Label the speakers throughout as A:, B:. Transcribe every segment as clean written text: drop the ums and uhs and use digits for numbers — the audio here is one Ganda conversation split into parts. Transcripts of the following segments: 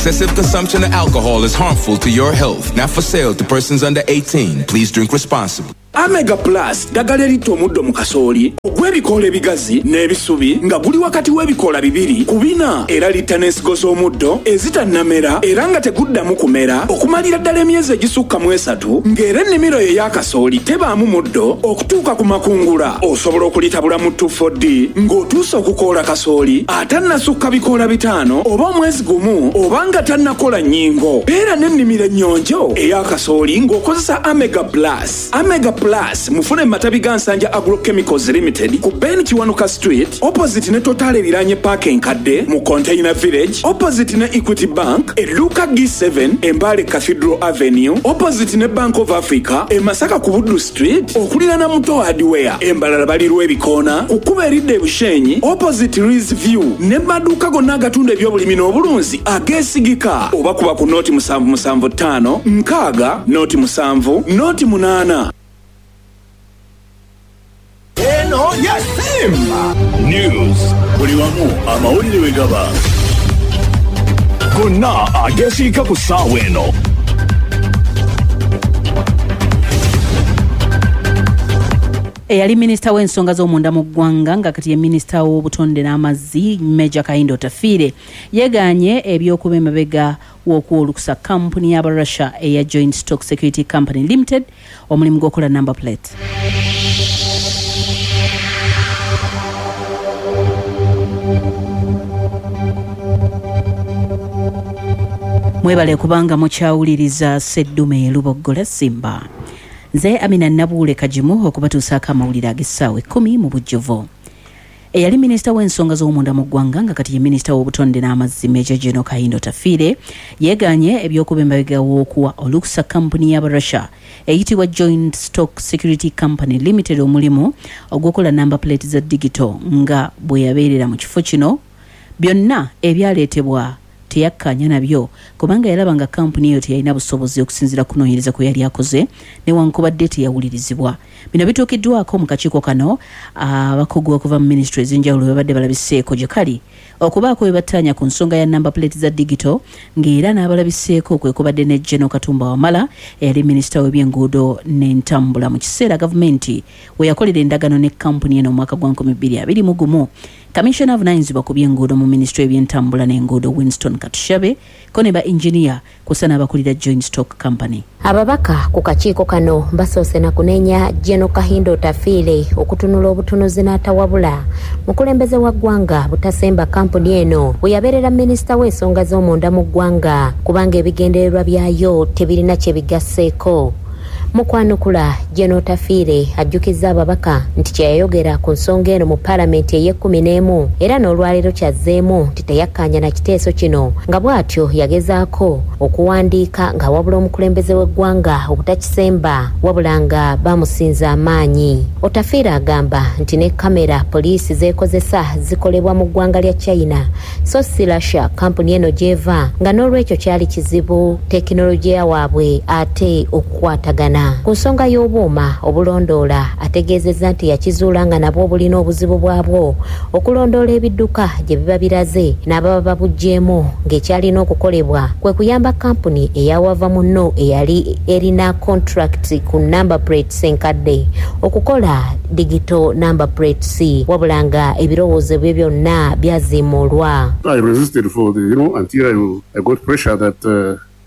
A: Excessive consumption of alcohol is harmful to your health. Not for sale to persons under 18. Please drink responsibly.
B: Amega Plus ddagala eritta omuddo mu kasooli ogw'ebikoola ebigazi n'ebisubi nga guli wakati w'ebikoola bibiri ku bina era litta n'ensigo z'omuddo ezitannamera era nga teguddamu kumera okumalira ddala emyezi egisukka mu esatu ng'era ennimiro yo eya kasooli tebaamu muddo okutuuka ku makungula. Osobola okulitabula mu 2,4-D ng'otuuse okukoola kasooli atannasukka bikoola bitaano oba omwezi gumu oba nga tannakola nnyingo. Beera n'ennimiro ennyonjo eya kasooli ng'okozesa Amega Plus. Amega Plus mufune mu matabi ga Nsanja Agro Chemicals Limited ku Ben Kiwanuka Street opposite ne Total eriraanye paaka enkadde mu Container Village opposite ne Equity Bank edduuka G7 e Mbale Cathedral Avenue opposite ne Bank of Africa e Masaka ku Buddu Street okuliraana Muto Hardware e Mbarara bali Lwebikoona ku kkubo eridda e Bushenyi opposite Rees View ne mu maduuka gonna agatunda ebyobulimi n'obulunzi ageesigika oba kuba ku nooti musanvu musanvu ttaano nkaaga nooti musanvu nooti munaana.
C: Eno ye Simba
D: News. Buli wamu amawulire we gaba. Gonna ageesiika ku ssaawa eno.
E: Eyali minisita w'ensonga z'omunda mu ggwanga nga kati ye minisita w'obutonde n'amazzi Major Kahinda Otafiire yegaanye eby'okuba emabega w'okuwa olukusa kkampuni y'aba Russia eya Joint Stock Security Company Limited omulimu gw'okukola number plate. Mwebale kubanga mukyawuliriza Sseddume Luboggola Simba. Nze Amina Nabuule Kagimu okubatuusaako amawulire ag'essaawa ekkumi mu bujjuvu. Eyali minisita w'ensonga z'omunda mu ggwanga nga kati ye minisita w'obutonde n'amazzi Major General Kahinda Otafiire yeegaanye eby'okuba emabega w'okuwa olukusa kkampuni y'aba Russia eyitibwa Joint Stock Security Company Limited omulimu ogw'okukola number plate za digito nga bwe yabeerera mu kifo kino byonna ebyaleetebwa teyakkaanya nabyo kubanga yalaba nga kkampuni eyo teyalina busobozi okusinziira ku kunoonyereza kwe yali akoze newankubadde teyawulirizibwa. Bino bituukiddwako mu kakiiko kano abakugu okuva mu minisitule ez'enjawulo babadde balabiseeko gye kali okubaako bye battaanya ku nsonga ya number plate za digito ng'era n'abalabiseeko kwe kubadde ne General Katumba Wamala eyali minisita w'ebyenguudo n'entambula mu kiseera gavumenti we yakolera endagaano ne kkampuni eno mu mwaka gwa 2021. Kaminsona avunaanyizibwa ku by'enguudo mu minisitule y'ebyentambula n'enguudo Winston Katushabe ko ne ba yinginiya kw'ossa n'abakulira Joint Stock Company.
F: Ababaka ku kakiiko kano basoose na kunenya Gen Kahinda Otafiire okutunula obutunuzi n'atawabula mukulembeze wa ggwanga butasemba kkampuni eno weyabeerera minisita w'ensonga z'omunda mu ggwanga kubanga ebigendererwa byayo tebirina kye bigasseeko. Mu kwanukula, Gen Otafiire ajjukizza ababaka nti kye yayogera ku nsonga eno mu palamenti ey'ekkumi n'emu era n'olwaleero ky'azzeemu nti teyakkaanya na kiteeso kino nga bw'atyo yagezaako okuwandiika ng'awabula omukulembeze w'eggwanga obutakisemba wabula nga bamusinza amaanyi. Otafiire agamba nti ne kkamera poliisi z'ekozesa zikolebwa mu ggwanga lya China so si Russia kkampuni eno gy'eva nga n'olwekyo kyali kizibu tekinologiya waabwe ate okukwatagana. Ku nsonga y'obuuma obulondoola ategeezezza nti yakizuula nga nabwo bulina obuzibu bwabwo okulondoola ebidduka gye biba biraze n'ababa babuggyeemu ng'ekyalina okukolebwa kwe kuyamba kkampuni eya wava munno eyali erina contract ku number plates enkadde okukola digital number plates wabula nga ebirowoozo bye byonna byaziimuulwa.
G: I resisted for the, you know, until I got pressure that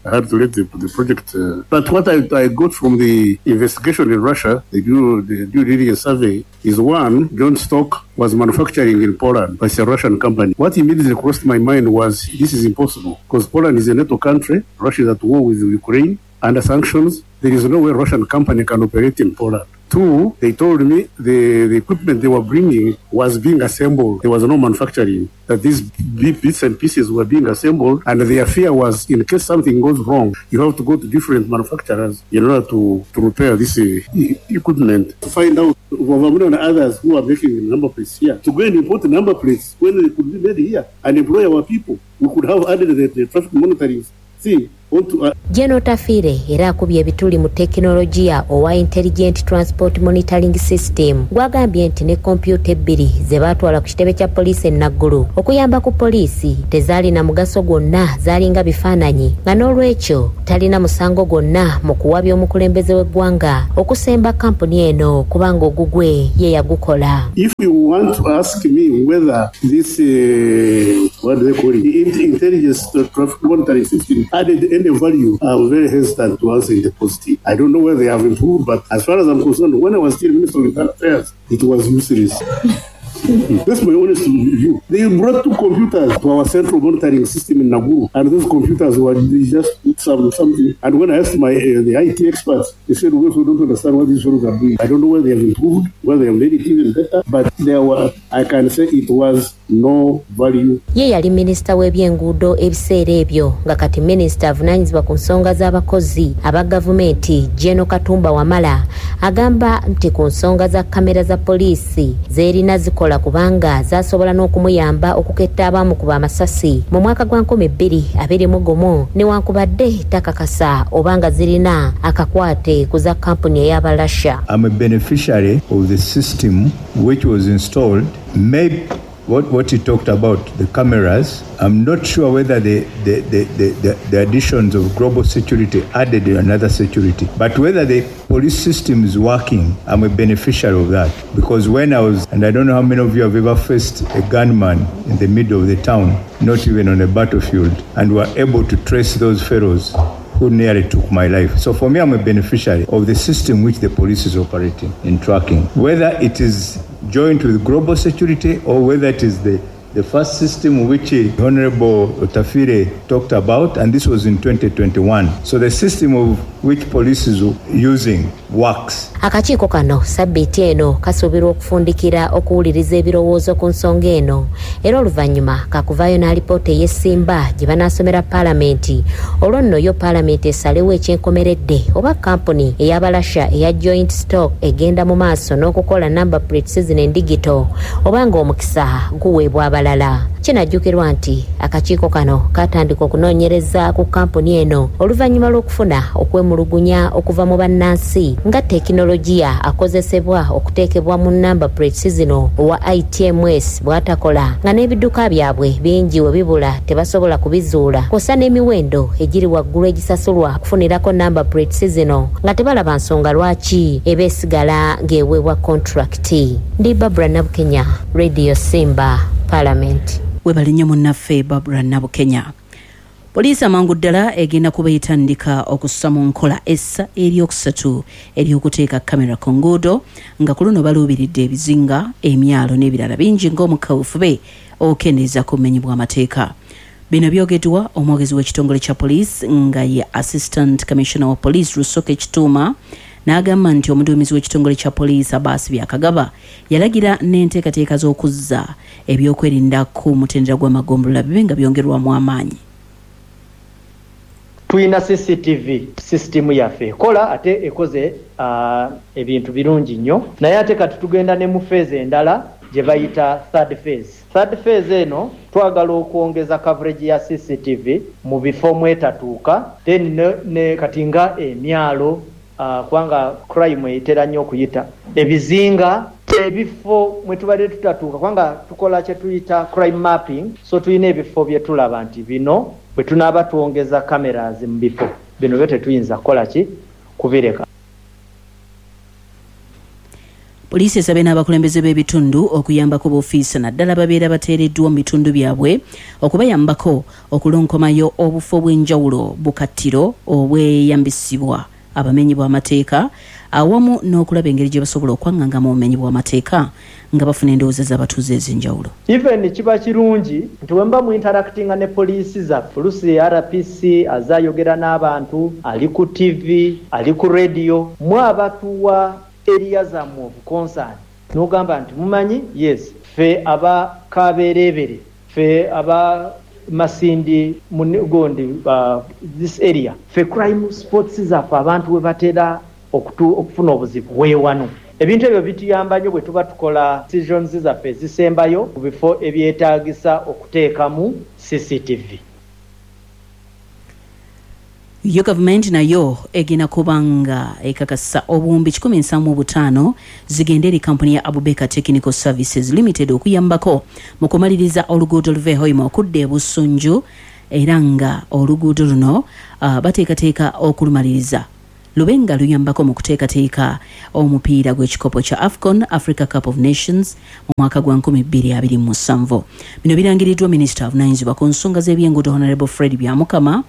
G: I had to let the project. But what I got from the investigation in Russia, the due diligence survey, is one, Joint Stock was manufacturing in Poland, but it's a Russian company. What immediately crossed my mind was this is impossible, because Poland is a NATO country, Russia is at war with Ukraine, under sanctions, there is no way a Russian company can operate in Poland. Two, they told me the equipment they were bringing was being assembled. There was no manufacturing, that these bits and pieces were being assembled, and their fear was in case something goes wrong, you have to go to different manufacturers in order to repair this equipment. To find out, Wavamuna and others who are making the number plates here, to go and import the number plates when they could be made here and employ our people. We could have added the traffic monitoring thing. want to
F: Gen Otafiire era akubye ebituli mu tekinologiya owa Intelligent Transport Monitoring System gw'agambye nti ne kompyuta ebbiri ze baatwala ku kitebe kya poliisi e Naggulu okuyamba ku poliisi tezaalina mugaso gwonna, zaalinga bifaananyi nga n'olwekyo talina musango gwonna mu kuwabya omukulembeze w'eggwanga okusemba kkampuni eno kubanga ogugwe ye yagukola.
G: If you want to ask me whether this, what do they call it, the intelligence traffic monitoring system added any value, I'm very hesitant to answer in the positive. I don't know whether they have improved, but as far as I'm concerned, when I was still Minister of Internal Affairs, it was useless. That's my honest view. They brought two computers to our central monitoring system in Naguru, and those computers were they just put something. And when I asked my the IT experts, they said, we also don't understand what these fellows are doing. I don't know whether they have improved, whether they have made it even better, but there were, I can say it was no value.
F: Ye yali minisita w'ebyenguudo ebiseera ebyo nga kati minisita avunaanyizibwa ku nsonga z'abakozi aba gavumenti Gen Katumba Wamala agamba nti ku nsonga za kamera za poliisi z'erina zikola kubanga zasobola n'okumuyamba okuketta abaamukuba amasasi mu mwaka gwa 2021 newankubadde takakasa oba nga zirina akakwate ku za kampuni ey'Abalasha.
H: I'm a beneficiary of the system which was installed. Maybe what he talked about, the cameras, I'm not sure whether the additions of global security added another security. But whether the police system is working, I'm a beneficiary of that. Because when I was, and I don't know how many of you have ever faced a gunman in the middle of the town, not even on a battlefield, and were able to trace those fellows who nearly took my life. So for me, I'm a beneficiary of the system which the police is operating in tracking. Whether it is joined with global security or whether it is the first system which Honorable Otafiire talked about, and this was in 2021. So the system of which police is using works.
F: Akakiiko kano sabbiiti eno kasuubirwa okufundikira okuwuliriza ebirowoozo ku nsonga eno, era oluvannyuma kakuvaayo n'alipoota ey'essimba gye banaasomera paalamenti, olwo nno yo paalamenti esalewo ekyenkomeredde oba kampuni ey'Abalasha eya Joint Stock egenda mu maaso n'okukola number plates zino endigito oba ng'omukisa guweebwa abalala. Kinajjukirwa nti akakiiko kano katandika okunoonyereza ku kampuni eno oluvannyuma lw'okufuna okwemulugunya okuva mu bannansi nga tekinologiya akozesebwa okuteekebwa mu number plates zino owa ITMS bw'atakola, nga n'ebidduka byabwe bingi we bibula tebasobola kubizuula, kw'ossa n'emiwendo egiri waggulu egisasulwa okufunirako number plates zino nga tebalaba nsonga lwaki eba esigala ng'eweebwa contract. Ndi Barbara Nabukenya, Radio Simba, Parliament.
E: Webale nnyo munnaffe Barbara Nabukenya. Poliisi amangu ddala egenda kuba etandika okussa mu nkola essa eryokusatu ery'okuteeka kamera ku nguudo, nga ku luno baluubiridde ebizinga, emyalo n'ebirala bingi ng'omukawufube okukendeeza ku bumenyi bw'amateeka. Bino byogeddwa omwogezi w'ekitongole kya poliisi nga ye Assistant Commissioner wa Police Rusoke Kituuma, n'agamba nti omuduumizi w'ekitongole kya poliisi Abaasi Byakagaba yalagira n'enteekateeka z'okuzza ebyokwerinda ku mutendera gw'amagombolola bibe nga byongerwamu amaanyi.
I: Tulina CCTV system yaffe ekola ate ekoze ebintu birungi nnyo, naye ate kati tugenda ne mu phase endala gye bayita third phase. Third phase eno twagala okwongeza coverage ya CCTV mu bifo mwetatuuka, then ne kati nga emyalo, kubanga crime etera nnyo okuyita ebizinga, ebifo mwe tubadde tutatuuka, kubanga tukola kye tuyita crime mapping. So tulina ebifo bye tulaba nti bino bwe tunaaba twongeza cameras mu bifo bino byo tetuyinza kukola ki kubireka.
E: Poliisi esabye n'abakulembeze b'ebitundu okuyambako b'ofiisa naddala babeera bateereddwa mu bitundu byabwe okubayambako okulonkomayo obufo bw'enjawulo bukattiro obweyambisibwa abamenyi bw'amateeka, awamu n'okulaba engeri gye basobola okwaŋŋanga mu bumenyi bw'amateeka nga bafuna endowooza z'abatuuze ez'enjawulo.
I: Even kiba kirungi nti bwe muba mu interactinga ne poliisi zaffe, oluusi RPC azayogera n'abantu, ali ku TV, ali ku radio, mwe abatuwa area zammwe of concern, n'ogamba nti mumanyi, yes, ffe aba Kabeerebere, ffe aba Masindi, gondi, this area, ffe crime spots zaffe abantu we batera okufuna obuzibu weewano. Ebintu ebyo bituyamba nnyo bwe tuba tukola decisions zaffe ezisembayo ku bifo ebyetaagisa okuteekamu CCTV.
E: Yo gavumenti nayo egenda kuba nga ekakasa obuwumbi 175 zigende eri kampuni ya Abubeka Technical Services Limited okuyambako mu kumaliriza oluguudo luva e Hoima okudda e Busunju, era nga oluguudo luno bateekateeka okulumaliriza lube nga luyambako mu kuteekateeka omupiira gw'ekikopo kya AFCON, Africa Cup of Nations, mu mwaka gwa 2027. Bino birangiriddwa minisita avunaanyizibwa ku nsonga z'ebyenguudo Honorable Fred Byamukama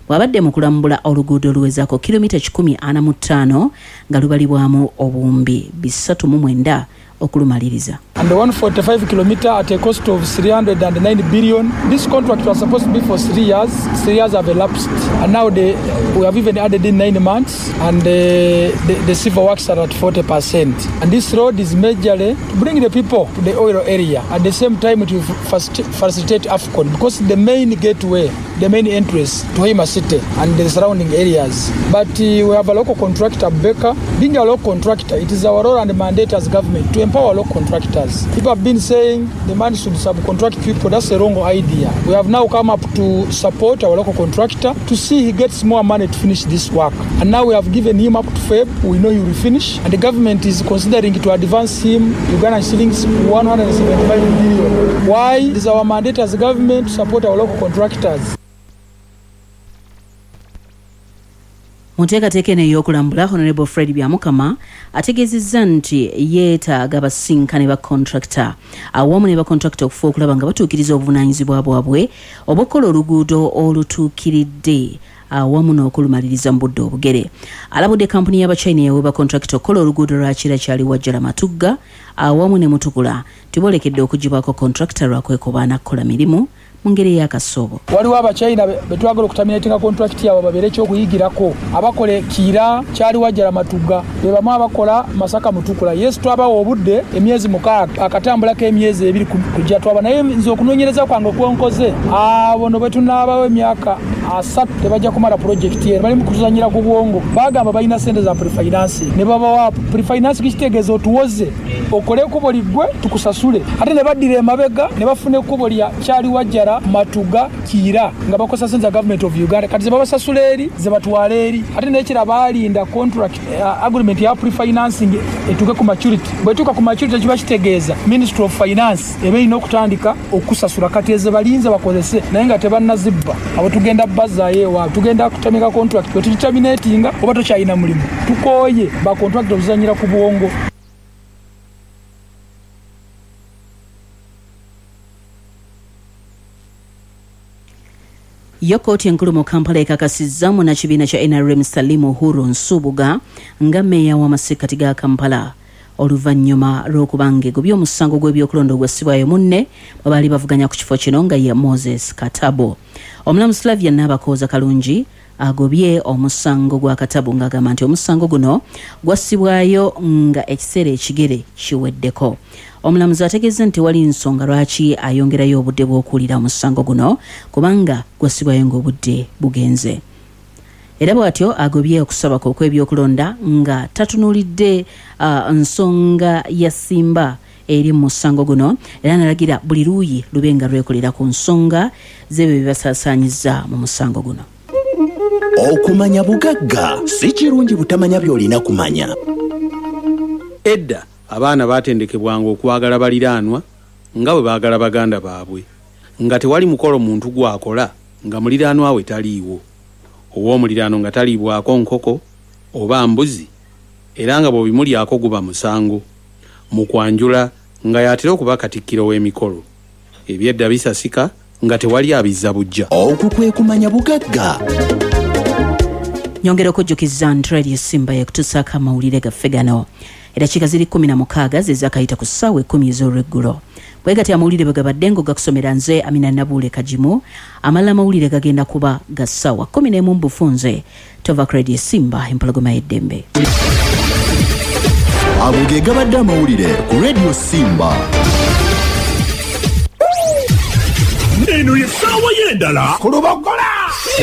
E: bw'abadde mu kulambula oluguudo oluwezaako kilomita 145 nga lubalibwamu obuwumbi 309 okulumaliriza.
J: And the 145 kilometer at a cost of 309 billion. This contract was supposed to be for 3 years. 3 years have elapsed, and now we have even added in 9 months, and the civil works are at 40%. And this road is majorly to bring the people to the oil area. At the same time, it will facilitate AFCON, because the main gateway, the main entrance to Hoima City and the surrounding areas. But we have a local contractor, Baker. Being a local contractor, it is our role and mandate as government to empower local contractors. People have been saying the man should subcontract people. That's a wrong idea. We have now come up to support our local contractor to see he gets more money to finish this work. And now we have given him up to Feb. We know he will finish. And the government is considering to advance him Ugandan shillings 175 billion. Why? It is our mandate as government to support our local contractors.
E: Mu nteekateeka eno ey'okulambula, Honorable Fred Byamukama ategeezezza nti yeetaaga basinkane ba contractor awamu ne ba contractor okufa okulaba nga batuukiriza obuvunaanyizibwa bwabwe obw'okukola oluguudo olutuukiridde awamu n'okulumaliriza mu budde obugere. Alabudde kampuni y'Abachina eyaweebwa contractor okukola oluguudo lwa Kira Kyali Wajjala Matugga awamu ne Mutukula tiboolekedde okugibwako contractor lwakwekobaana kukola mirimu mu ngeri ey'akasoobo.
J: Waliwo Abachina betwagala okutaminatinga contract yaabwe babeere ekyokuyigirako, abakola Kiira Kyali Wajjala Matugga be bamu abakola Masaka Mutukula. Yes, twabawa obudde emyezi 6 akatambulako emyezi 2 kujja twaba, naye nze okunoonyereza kwange kwenkoze abo no bwe tunaabawo emyaka 3 tebajja kumala project eno. Bali mu kutuzannyira ku bwongo, bagamba balina ssente za prefinance ne babawa prefinance, kitegeeza otuwoze okole ekkubo liggwe tukusasule, ate ne baddira emabega ne bafuna ekkubo lya Kyali Wajjala Matuga Kiira nga bakozesa ssente za government of Uganda. Kati ze babasasula eri ze batwala eri, ate n'ekira baalinda contract agreement ya prefinancing etuuke ku maturity. Bw'etuuka ku maturity kiba kitegeeza Ministry of Finance eba erina okutandika okusasula. Kati ezo balinze bakozese naye nga tebannazibba, abo tugenda bazzaayo ewaabwe, tugenda kutamika contract bwe tugiterminatinga oba tokyalina mulimu. Tukooye ba contract okuzannyira ku bwongo.
E: Yo kkooti enkulu mu Kampala ekakasizza munnakibiina kya NRM Salim Uhuru Nsubuga nga mmeeya w'amasekkati ga Kampala oluvannyuma lw'okuba ng'egobye omusango gw'ebyokulonda ogwassibwayo munne bwe baali bavuganya ku kifo kino nga ye Moses Katabo. Omulamuzi Flavia Nabakooza Kalungi agobye omusango gwa Katabo ng'agamba nti omusango guno gwassibwayo nga ekiseera ekigere kiweddeko. Omulamuzi ategeeza nti tewali nsonga lwaki ayongerayo obudde bw'okuwulira omusango guno kubanga gwassibwayo ng'obudde bugenze. Era bw'atyo agobye okusaba kwe okw'ebyokulonda nga tatunuulidde nsonga ya Simba eri mu musango guno, era n'alagira buli luuyi lube nga lwekolera ku nsonga z'ebyo bye basaasaanyizza mu musango guno.
K: Okumanya bugagga si kirungi butamanya by'olina kumanya.
L: Edda abaana baatendekebwanga okwagala baliraanwa nga bwe baagala baganda baabwe, nga tewali mukolo muntu gw'akola nga muliraanwa we taliiwo, ow'omuliraano nga taliibwako nkoko oba mbuzi, era nga bw'obimulyako guba musango. Mu kwanjula nga y'atera okuba katikkiro w'emikolo. Ebyedda bisasika nga tewali abizza bujja.
K: Okwo kwe kumanya bugagga.
E: Nyongera okujjukiza nti Radio Simba yekutuusaako amawulire gaffe gano. Eddakiika ziri 16 ze zaakayita ku ssaawa 10 ez'olweggulo. Bwe gatyo amawulire bwe gabadde ng'ogakusomera nze Amina Nabuule Kagimu. Amalala amawulire gagenda kuba ga ssaawa 11 mu bufunze. Tova ku Radio Simba, empologoma y'eddembe.
K: Ago ge gabadde amawulire ku Radio Simba.
D: Eno ye ssaawa y'endala ku Lubogola.